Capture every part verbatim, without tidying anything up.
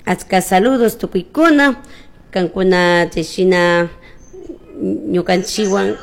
Achka saludos tukuykuna, kankuna chayshina ñukanchikwan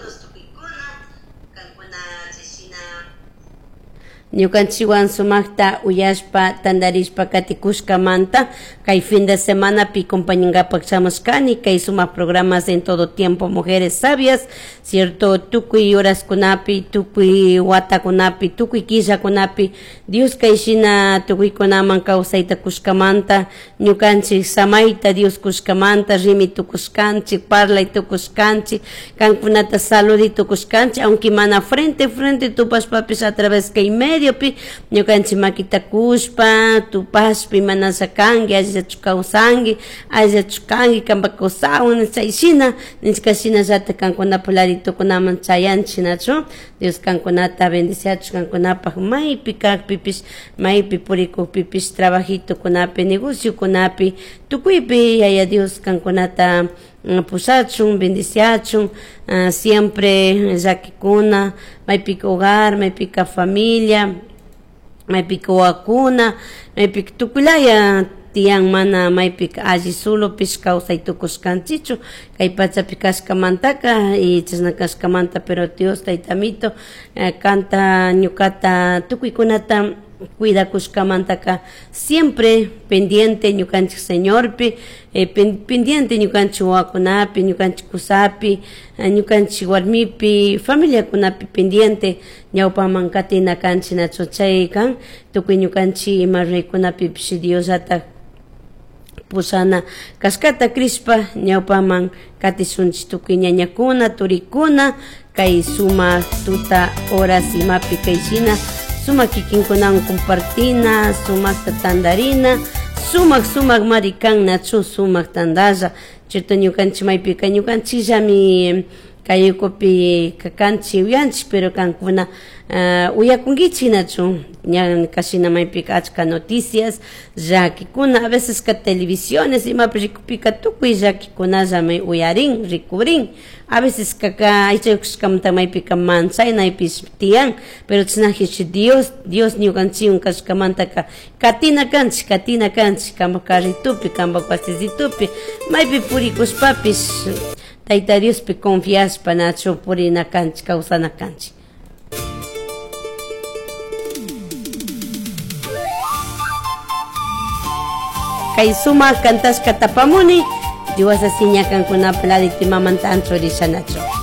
ñukanchikwan sumakta uyashpa tantarishpa katikushkamanta kay fin de semanapi compañankapak shamushkani kay sumak programas en todo tiempo Mujeres Sabias, cierto, tukuy horaskunapi, tukuy watakunapi, tukuy killakunapi Dios kayshina tukuykunaman kawsayta kushkamanta ñukanchik samayta Dios kushkamanta rimi tukushkanchik, parlay tukushkanchik, kankunata saludi tukushkanchik, aunque mana frente frente tupashpapish a través kay medio pi ñukanchik makita kushpa tupashpa imanasha kanki, allillachu kawsanki, allillachu kanki kanpak kawsawan chayshina nishkashinallatak kankunapak laditukunaman chayanchik nachu. Dios kankunata bendiciachun kankunapak maypi kakpipish, maypi purikukpipish, trabajitukunapi, negociokunapi, tukuypi Yaya Dios kankunata pushachun, bendiciachun, uh, siempre llakikuna, maypika hogar, maypika familia, maypika wawakuna, maypika tukuylaya tiyan mana maypika alli solopish kawsay tukushkanchikchu kay pachapi kashkamantaka y chashna kashkamanta, pero Dios taytamito kanta ñukata tukuykunata cuidakushkamantaka siempre pendiente ñukanchik Señorpi, eh, pendiente ñukanchik wawakunapi, ñukanchik kusapi, ñukanchik warmipi, familiakunapi pendiente ñawpaman katina kanchik nachu chay kan tukuy ñukanchik ima ruraykunapipish Diosllatak pushana kashkata crishpa ñawpaman katishunchik tukuy ñañakuna, turikuna kay sumak tuta horas imapi kayshina sumak kikinkunawan compartina, sumakta tantarina, sumak sumak mari kan nachu sumak tantalla, chayta ñukanchik maypika ñukanchikllami kay ukupi kanchik uyanchik, pero kankuna uh, uyakunkichik nachu ña kashina maypika achka noticias llakikuna, a veces ka televisiones imapi rikupika tukuy llakikunallami uyarin, rikurin, a veces kaka aychaykushkamanta maypika manchaynaypish tiyan, pero chashnajish Dios Dios ñukanchikwan kashkamantaka katina kanchik, katina kanchik kanpak carritupi, kanpak wasisitupi maypi purikushpapish Tayta Diospi confiashpa nachu purina kanchik, kawsana kanchik. Kay sumak kantashka tapamuni, Dios asiña kankunapa ladito imamanta anchurishanachu.